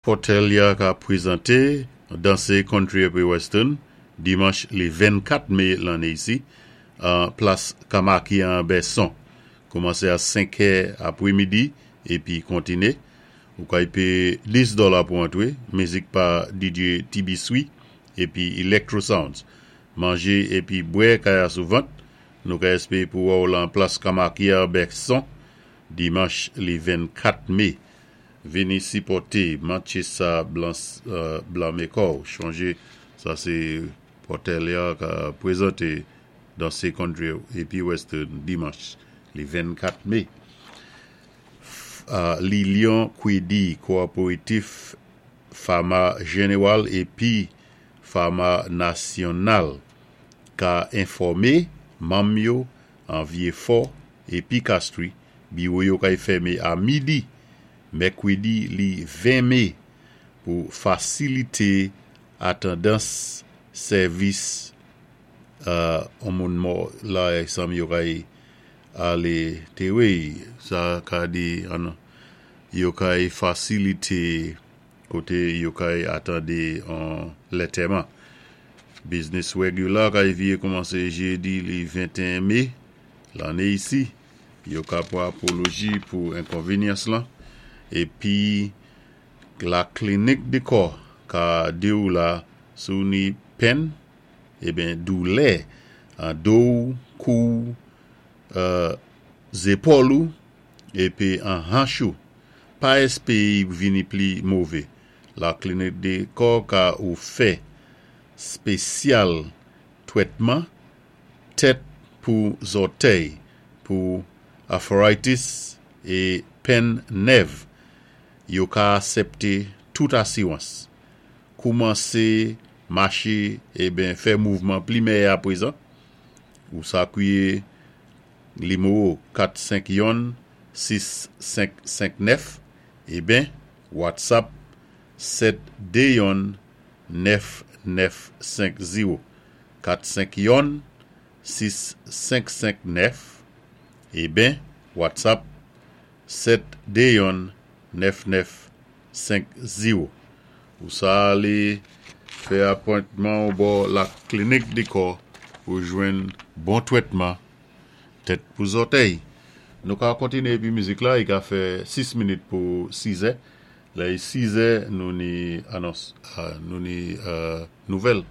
Pòtèlya ka pwézanté dansé country épi western dimanch li 24 mé lanné isi an plas Kamaki an Bèson. Koumansé a 5 è apwémidi épi kontiné. Ou kay péyé 10 dòla pou antwé, mizik pa DJ Tibiswi épi Electro Sounds. Manjé épi bwè kay asou vant. Nou ka èspéwé pou wè-w lan plas Kamaki an Bèson dimanch li 24 mé. Vini sipòté mantché sa blanmé kòw chonjé sa sé Pòtèlya ka pwézanté dansé country épi western dimanch li 24 mé. Lilion Kwédi Kowopératif Fama Jenéwal épi Fama Nasyonal ka enfòmé manm yo an Vyéfò épi Kastri biwo yo kay fèmé a midi mèkwédi li 20 mé pou fasilité atandans sèvis on moun mò la sanm yo kay alé téwé sa ka di an yo kay fasilité koté yo kay atandé an lantèman. Biznis regular kay vyé koumansé jédi li 21 mé lanné isi. Yo ka pwan apoloji pou enkonvinyans lan épi la klinik di kò ka di-w la si w ni pèn eben doulè an do-w, kou-w, zépòl ou épi an hanch ou. Pa èspéwé vini pli mové. La klinik di kò ka ou fè spésyal twètman tèt pou zòtèy pou arthritis é pèn nèv. Yo ka asèpté tout asiwans. Koumansé maché eben fè mouvman pli mèyè apwézan. Ou sa kwié nimewo 451 6559 eben WhatsApp 721 9950 451 6559 eben WhatsApp 721 9950. Ou sa alé fè apwentman bò la klinik di kò pou jwenn bon twètman tèt pou zòtèy. Nou ka kontiné épi mizik la, i ka fè 6 minit pou 6 è. Lè i 6 è nou ni anons, nou ni nouvèl.